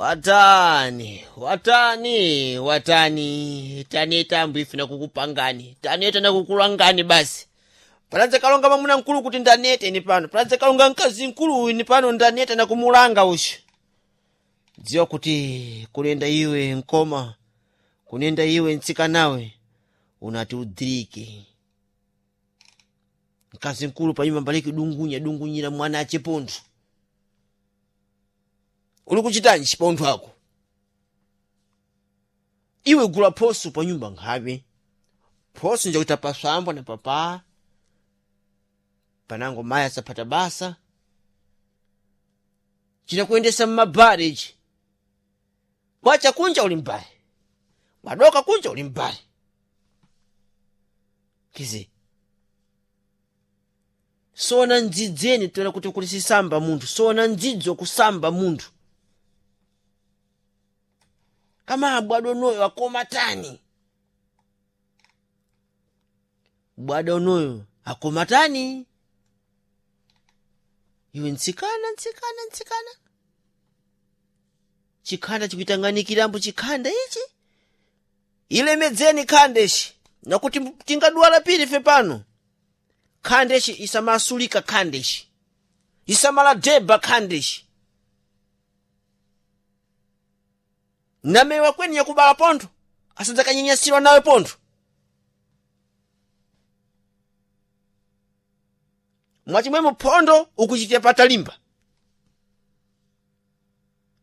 Watani, watani, watani, taneta ambu nakukupangani, taneta nakukulangani basi. Paladza kalonga mwamuna mkulu kuti ndanete ni pano, paladza kalonga mkazi mkulu uyu ni pano ndanete nakumulanga uyu. Dziwa kuti kunenda iwe nkoma, kunenda iwe ntsikanawe, unati udhirike. Mkazi mkulu panyumba mbaliki dungunya dungunyira mwana achipontho. Uli kuchitanji chipontho ako? Iwe gula phoso panyumba nkhabe. Phoso njakuita paswambo na papa. Panango mayi asaphata basa. Chinakuyendesa mmabare ichi. Kwacha kunja uli mbale. Wadoka kunja uli mbale. Kizi. Sona ndzidzeni toera kuti kuli sisamba munthu. Sona ndzidzo kusamba munthu. Kama bwado noyo akoma tani. Bwado noyo akoma tani. Iwe ntsikana ntsikana ntsikana. Chikhanda chikuitanganikirambo chikhanda ichi. Ilemedzeni khanda ichi. Nakuti tingadwala pili ife pano. Khanda ichi isamasulika khanda ichi. Isamaladeba khanda ichi. Namewa kweni yakubala pontho. Asadzakanyenyesirwa nawe pontho. Mwachimwemo phondo ukuchitira patalimba.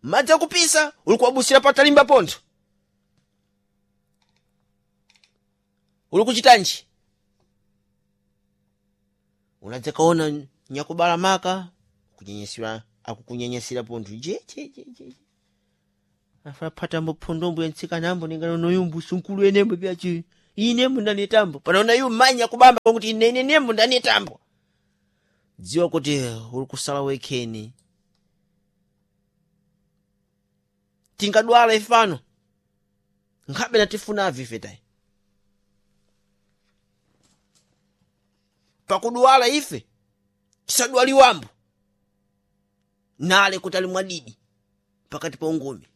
Madzi akupisa uli kuwabusira patalimba pontho. Uli kuchitanji? Unadzakaona nyakubala maka kunyenyesera akukunyenyesera pontho je je je je. Afapatambo phondombo yantsikanambo ningano noyumbu sunkulu enembo pyachi. Inembo ndanetambo. Panaona yu manya kubamba kuti ine nembo ndanetambo. Dziwa kuti uli kusala wekheni. Tingadwala ife pano. Nkhabe natifunavi ife tayi. Pakudwala ife tisadwaliwambo. Nale kuti ali mwadidi pakati pa ungumi.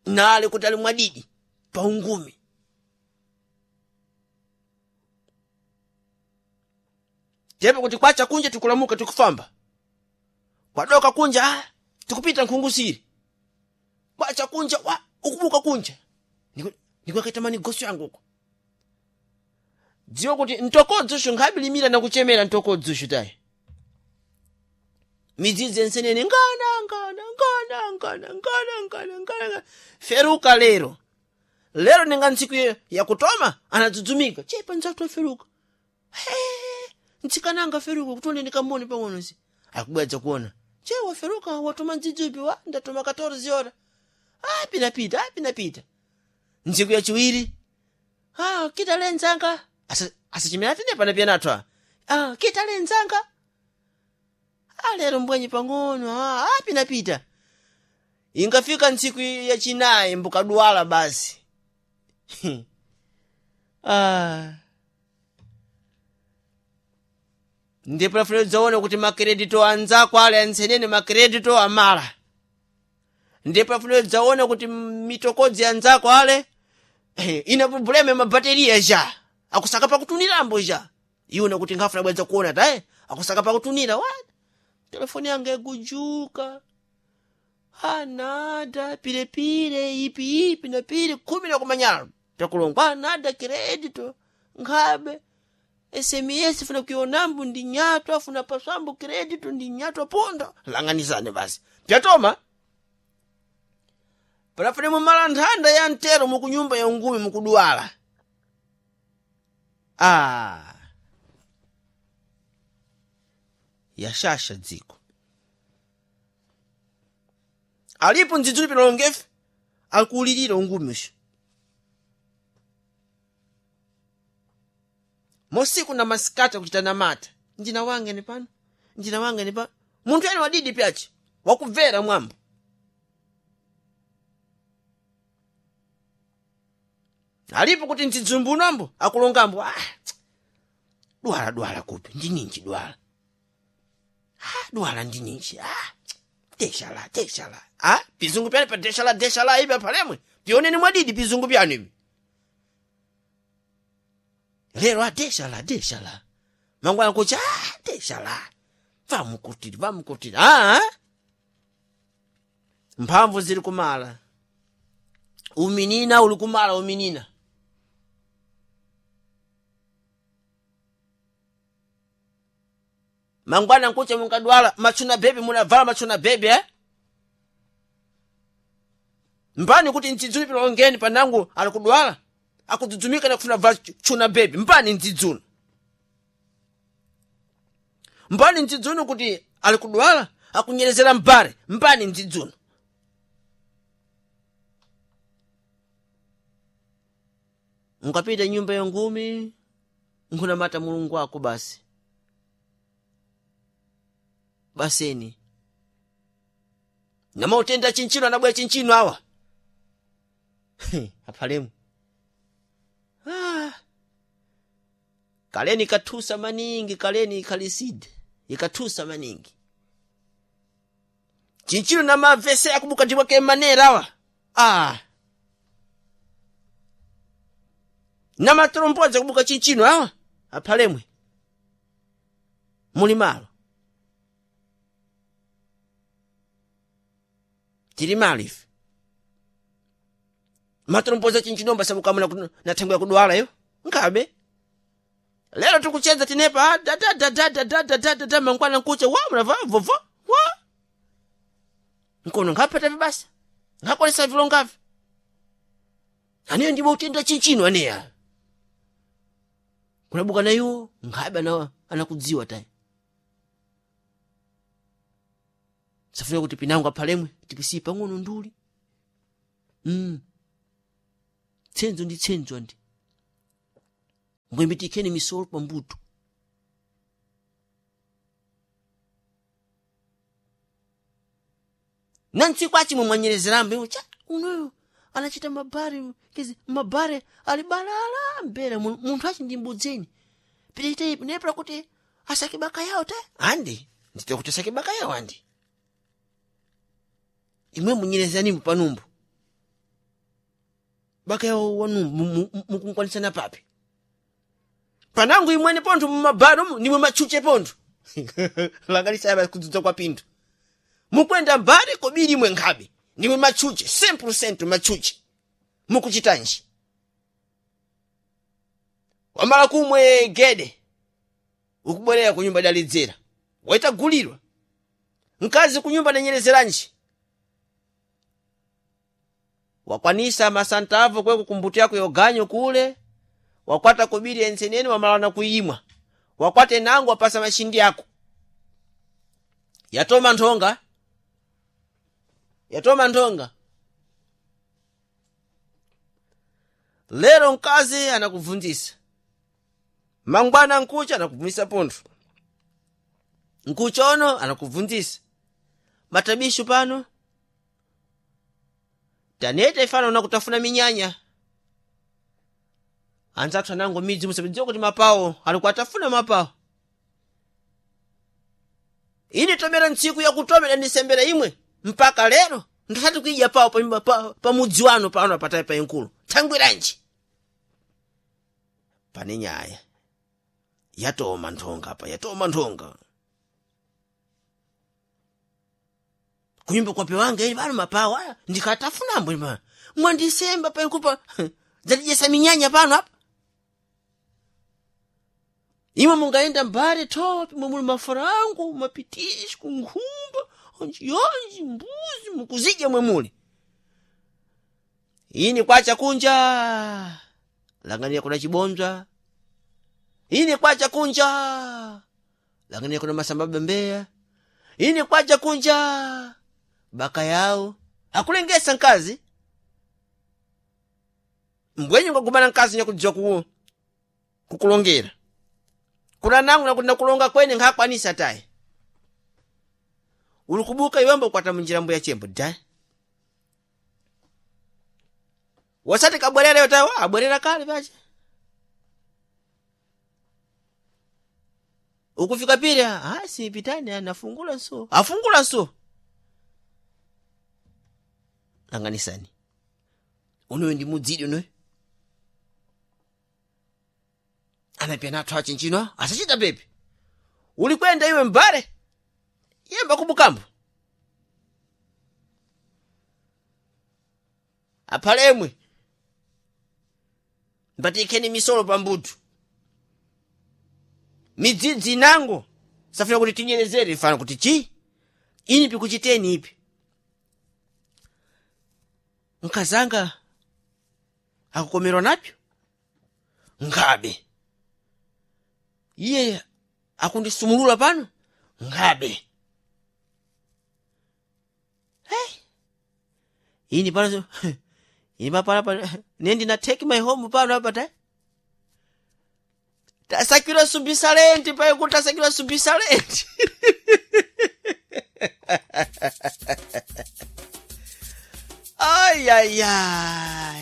Nale kuti ali mwadidi pa ungumi. Tepo kuti kwacha kunja tikulamuka tikufamba. Kwadoka kunja ah, tikupita nkhungusiri. Kwacha kunja wa ukubuka kunja. Ndikuakaita manigoso yangu uko. Dziwa kuti ntokodzosho nkhabe na kuchemera ntokodzosho tayi. Midzidzi ensenene ngana ngana ngana ngana ngana ngana ngana. Feruka lero. Lero ninga ntsiku yakutoma anadzudzumika. Chepa ndzatu aferuka. Hey, ntsikananga feruka kutone ndikamone pang'ono si. Akubwedza kuona. Che waferuka watoma ndzidzi wa ndatoma 14 ora. Ah pinapita, ah pinapita. Ntsiku yachiwiri. Ah kita lenzanga. Asachimera tine pana pia natwa. Ah kita lenzanga. Ah lero mbwenye pang'ono. Ah, ah pinapita. Ingafika ntsiku yachinayi mbukadwala basi. Ah. Ndipo lafuna udzaone kuti makredito anzako ale antsenene makredito amala. Ndipo lafuna udzaone kuti mitokodzi anzako ale ina problema ya mabateriya ja. Akusaka pakutunirambo ja. Iwona kuti nkhafuna bwedza kuona taye. Akusaka pakutunira wa. Telefoni yanga igujuka. Anada pilepile ipi ipi na pile 10 na kumanyala. Takulongwa anada kredito nkhabe. SMS funa kuionambu ndi nyatwa afuna paswambu kredito ndi nyatwa ponda langanizane basi pyatoma palafune mumala nthanda ya mtero mukunyumba ya ungumi mukudwala ah yashasha dziko alipo ndzidzuli pinalongefe akuulirira ungumi usho mosiku na masikati akuchita namata njina wange ni pano njina wange ni pano munthu ene wadidi pyachi wakubvera mwambo alipo kuti ndzidzumbu akulongambo ah, dwala dwala kupi ndininji dwala ah, dwala ndininji ah, Deshala deshala ah pizungu pyani pa deshala deshala ipi apalemwe pioneni mwadidi pizungu pyanu ivi lero a deshala deshala mangwana kucha ah deshala vamukutiri vamukutiri ah mphamvu zili kumala uminina uli kumala uminina mangwana nkucha munkadwala machuna bebe munavala machuna bebe eh? Mpani kuti ndzidzulo pilongeni panangu alikudwala akudzudzumika nakufuna vala chuna bebe mpani ndzidzulo mpani ndzidzulo kuti alikudwala akunyerezera mbare mpani ndzidzulo Mukapita nyumba ya ngumi nkhunamata mulungu wako basi baseni namautenda chinchino anabwera chinchino awa aphalemu ah. Kaleni ikathusa maningi kaleni ikhaliside ikathusa maningi chinchino namavese akubuka ndiwake manera awa ah. Namatrombodza kubuka chinchino awa aphalemwe muli malo tili malo ife matromboza chinchinomba sabukamuna na thengo yakudwala iyo nkabe lero tikucheza tinepa dadadadadadadadada mangwana nkucha wa mnava vovo wa nkono nkhapata vibasa nkhakolesa vilongavi aneyo ndiwo utenda chinchino aneya kunabuka nayo nkhabe anakudziwa tayi safuna kuti pinango aphalemwe tipisiye pang'ono nduli tsenzo ndi tsenzo andi mbwembitikheni misolo pambuto na ntsiku achimwe mwanyerezerambe cha unoyo anachita mabare kezi mabare ali balala mbera munthu achi ndi mbudzeni pitite nepera kuti asake baka yawo ta andi ndite kuti asake baka yawo andi imwe munyerezani panumbu baka yawo wanumbu mukunkwanisana papi panangu imwene pontho mumabaro nimwe matchuche pontho langanisaya kudzudza kwa pinthu mukwenda mbale kobiri imwe nkhabe nimwe matchuche 100% matchuche mukuchitanji wamala kumwe gede ukubwerera ku nyumba dalidzera waitagulirwa mkazi ku nyumba danyerezeranji wakwanisa masantavo kwe kukumbuti yako yoganyo kule wakwata kobiri enseneni wamalana kuimwa wakwate nangu wapasa mashindi yako yatoma nthonga yatoma nthonga lero mkazi anakubvunzisa mangwana nkucha anakubvunzisa pontho nkucha ono anakubvunzisa matabisho pano taneta ifana unakutafuna minyanya anzathu anango midzi musadziwa kuti mapawo alikuatafuna mapawo ine tomera ntsiku yakutomera ndisembera imwe mpaka lero ndisati kuidya pawo pa, pa, pa mudzi wanu pano apatayi pa inkulu thangwiranji pane nyaya yatoma nthonga apa yatoma nthonga kunyumba kwape wanga ili pano mapawo aya ndikatafunambo ima mwandisemba pa inkulu pa dzatidyesa minyanya pano apa imwe mungaenda mbale thopi mwe muli mafarango mapitisco nkhumba onjionji mbuzi mukuzidya mwe muli ini kwacha kunja langaniya kuna chibonzwa ini kwacha kunja langaniya kuna masamba bembeya ini kwacha kunja baka yawo akulengesa nkazi mbwenye ngagumana nkazi nyakudziwa kukulongera kuna nangu nakuti nakulonga kwene nkhakwanisa tayi uli kubuka iwembo ukwata munjira mbuya chembo da wasati kabwerera yo tayi abwerera kale pacha ukufika pili ah si pitani nafungula nso afungula nso Langanisani unoyo ndi mudzidi unoyo anapyana athu achinchino asachita pepe uli kwenda iwe mbale yemba kubukambo aphalemwe mbatikheni misolo pambuto midzidzi inango safuna kuti tinyerezere ifana kuti chi ini pikuchiteni ipi nkazanga akukomerwa napyo ngabe iye akundisumulula pano ngabe hey. Ini pano ini pano pano nendi na take my home pano apa ta tasakira sumbisa lenti paye kuti tasakira sumbisa lenti. Ayaya.